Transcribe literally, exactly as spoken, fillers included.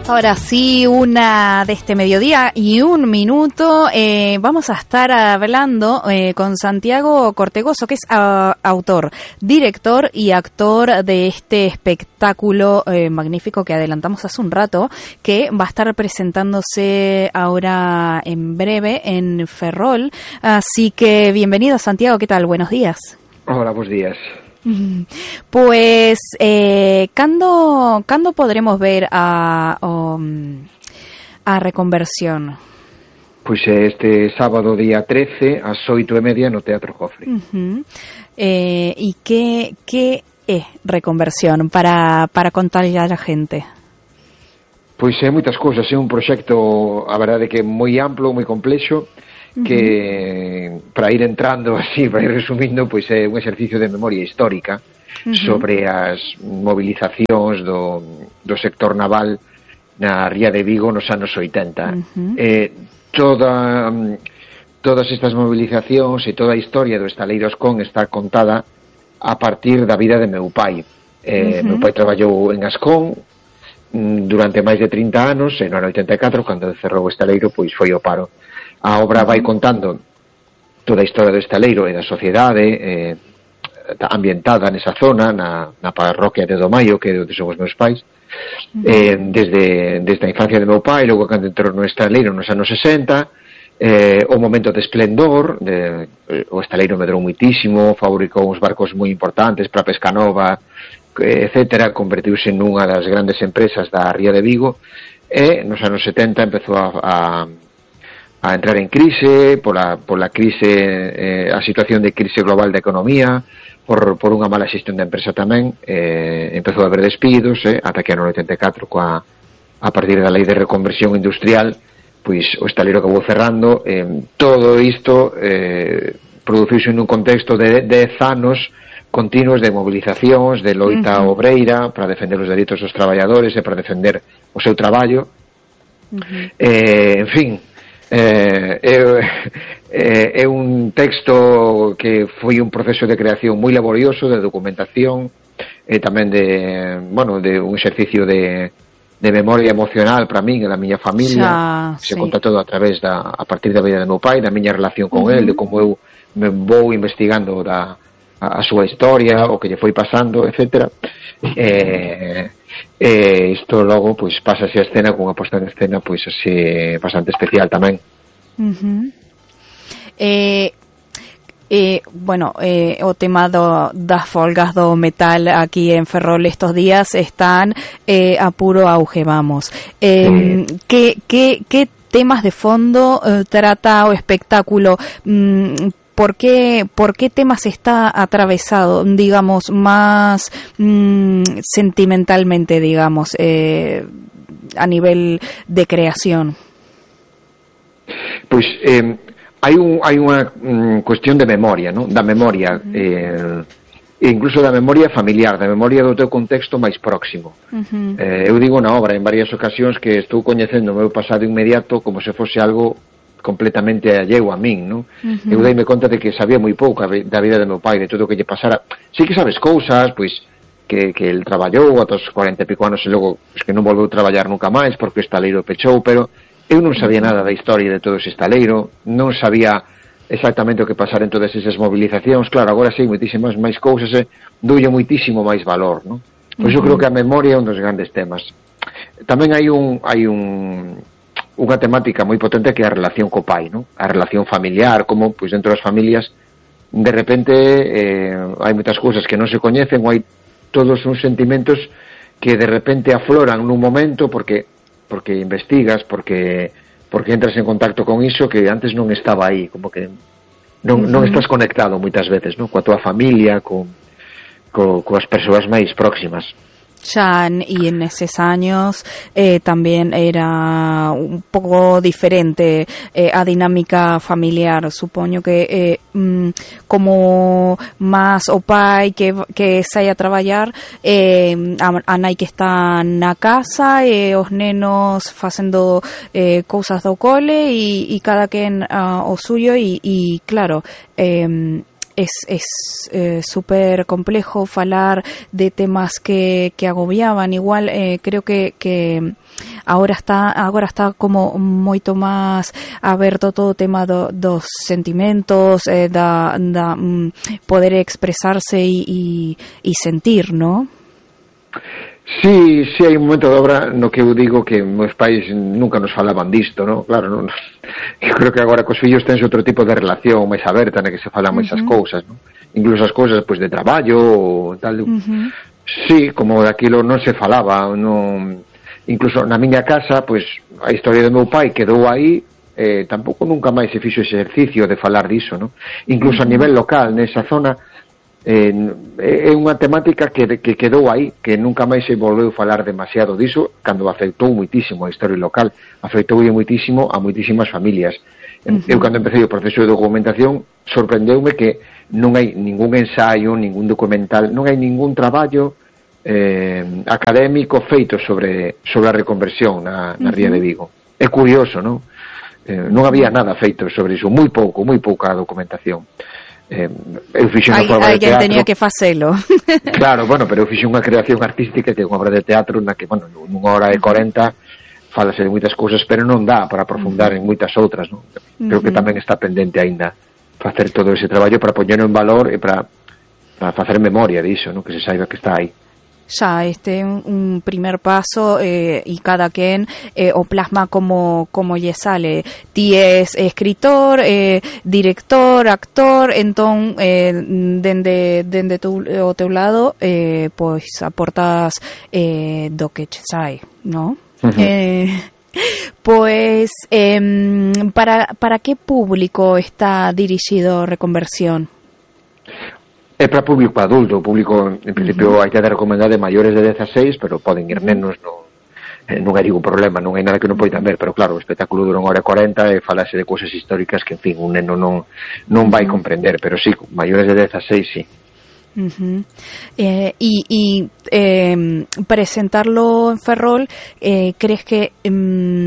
Ahora sí, una de este mediodía y un minuto. Eh, vamos a estar hablando eh, con Santiago Cortegoso, que es uh, autor, director y actor de este espectáculo eh, magnífico que adelantamos hace un rato, que va a estar presentándose ahora en breve en Ferrol. Así que bienvenido, Santiago. ¿Qué tal? Buenos días. Hola, buenos días. Pues, eh, ¿cando, ¿cando podremos ver a, um, a Reconversión? Pois este sábado día trece ás oito e media no Teatro Jofre. Uh-huh. eh, e que, que é Reconversión para, para contarlle a gente? Pois é moitas cousas, é un proxecto, a verdade que moi amplo, moi complexo, que uh-huh. para ir entrando así, para ir resumindo, pois é un exercicio de memoria histórica uh-huh. sobre as movilizacións do, do sector naval na Ría de Vigo nos anos oitenta. Uh-huh. Eh, toda, todas estas movilizacións e toda a historia do Estaleiro Ascón está contada a partir da vida de meu pai. Eh, uh-huh. Meu pai traballou en Ascón durante máis de trinta anos, e no ano oitenta e catro, cando cerrou o estaleiro, pois foi o paro. A obra vai contando toda a historia do estaleiro e da sociedade eh, ambientada nesa zona, na, na parroquia de Domaio, que é onde son os meus pais, eh, desde, desde a infancia de meu pai, logo cando entrou no estaleiro nos anos sesenta, eh, o momento de esplendor, de, o estaleiro medrou muitísimo, fabricou uns barcos moi importantes para Pescanova, etcétera, convertiuse nunha das grandes empresas da Ría de Vigo, e nos anos setenta empezou a, a a entrar en crise, pola, pola crise, eh, a situación de crise global da economía, por, por unha mala xestión da empresa tamén, eh, empezou a haber despidos, eh, ata que no oitenta e catro, coa, a partir da lei de reconversión industrial, pois o estaleiro acabou cerrando. Eh, todo isto eh, produciuse nun contexto de dez anos continuos de movilizacións, de loita uh-huh. obreira, para defender os dereitos dos traballadores e para defender o seu traballo. Uh-huh. Eh, en fin, Eh, é, é un texto que foi un proceso de creación moi laborioso, de documentación e tamén de, bueno, de un exercicio de, de memoria emocional para min e da miña familia. Xa, se sí. conta todo a través da, a partir da vida do meu pai, da miña relación con uh-huh. el, de como eu me vou investigando da, a, a súa historia, o que lle foi pasando, etcétera. Eh, e isto logo pois pasa así a escena cunha posta en escena pois así bastante especial tamén. Uh-huh. eh, eh, bueno, eh, o tema do, das folgas do metal aquí en Ferrol estos días están eh, a puro auge, vamos. Eh, mm. ¿qué, qué, ¿Qué temas de fondo eh, trata o espectáculo? Mm, ¿Por qué, ¿Por qué temas está atravesado, digamos, más mmm, sentimentalmente, digamos, eh, a nivel de creación? Pois eh, hai un hai unha um, cuestión de memoria, ¿no? Da memoria, uh-huh. eh, e incluso da memoria familiar, da memoria do teu contexto máis próximo. Uh-huh. Eh, eu digo na obra en varias ocasións que estou coñecendo o meu pasado inmediato como se fose algo completamente alleo a min, non? Uh-huh. Eu deime conta de que sabía moi pouco da vida de meu pai, de todo o que lle pasara. Sí que sabes cousas, pois, que, que el traballou ata os cuarenta e pico anos e logo pues, que non volveu traballar nunca máis porque o estaleiro pechou, pero eu non sabía nada da historia de todo ese estaleiro, non sabía exactamente o que pasara en todas esas movilizacións. Claro, agora sei moitísimas máis cousas e doulle moitísimo máis valor, non? Pois uh-huh. eu creo que a memoria é un dos grandes temas. Tamén hai un hai un unha temática moi potente que é a relación co pai, non? A relación familiar, como pois dentro das familias de repente eh, hai moitas cousas que non se coñecen, ou hai todos uns sentimentos que de repente afloran nun momento porque porque investigas, porque porque entras en contacto con iso que antes non estaba aí, como que non, uh-huh. non estás conectado moitas veces, non? Coa tua familia, con, co, coas persoas máis próximas. Ya, y en esos años eh, también era un poco diferente eh, a dinámica familiar. Supongo que eh, mm, como más o pai que, que saia a traballar, eh, a, a nai que está na casa e os nenos facendo eh, cousas do cole e, e cada quen uh, o suyo e, e claro, eh, es es eh, súper complejo falar de temas que, que agobiaban. Igual eh, creo que, que agora está agora está como moito máis aberto todo o tema do, dos sentimentos, eh, da, da um, poder expresarse e, e sentir, ¿no? Sí, sí, hai un momento de obra no que eu digo que meus pais nunca nos falaban disto, ¿no? Claro, non, eu creo que agora cos fillos tens outro tipo de relación máis aberta na que se falan máis uh-huh. as cousas, ¿no? Incluso as cousas pois de traballo ou tal. Uh-huh. Sí, como daquilo non se falaba, non, incluso na miña casa, pois a historia do meu pai quedou aí, eh, tampouco nunca máis se fixo ese exercicio de falar diso, ¿no? Incluso uh-huh. a nivel local, nesa zona, eh, é unha temática que, que quedou aí, que nunca máis se volveu falar demasiado diso, cando afectou muitísimo a historia local, afectou muitísimo a muitísimas familias. Uh-huh. Eu cando empecé o proceso de documentación sorprendeume que non hai ningún ensaio, ningún documental, non hai ningún traballo eh, académico feito sobre sobre a reconversión na, na uh-huh. ría de Vigo. É curioso, non? Eh, non había nada feito sobre iso, moi pouco, moi pouca documentación. Eh, eu fixe unha obra de teatro. Tenía que facelo. Claro, bueno, pero eu fixe unha creación artística que é unha obra de teatro na que, bueno, nunha hora e corenta falase de moitas cousas, pero non dá para aprofundar uh-huh. en moitas outras, non? Creo uh-huh. que tamén está pendente aínda facer todo ese traballo para poñerlo en valor e para, para facer memoria diso, non? Que se saiba que está aí. Ya este un, un primer paso eh, y cada quien eh, o plasma como como lle sale. Ti es escritor, eh, director, actor, entón eh, dende dende tu, o teu lado eh, pois aportas eh, do que che sai, ¿no? Uh-huh. Eh, pues eh, para para que público está dirixido Reconversión? É para público adulto, público, en principio, uh-huh. hai que dar recomendado de maiores de dezaseis, pero poden ir nenos, non, non hai ningún problema, non hai nada que non poidan ver, pero claro, o espectáculo dura unha hora e corenta e falase de cousas históricas que, en fin, un neno non, non vai comprender, pero sí, maiores de dezaseis, sí. Uh-huh. Eh, y y eh, presentarlo en Ferrol, eh, ¿crees que... Um,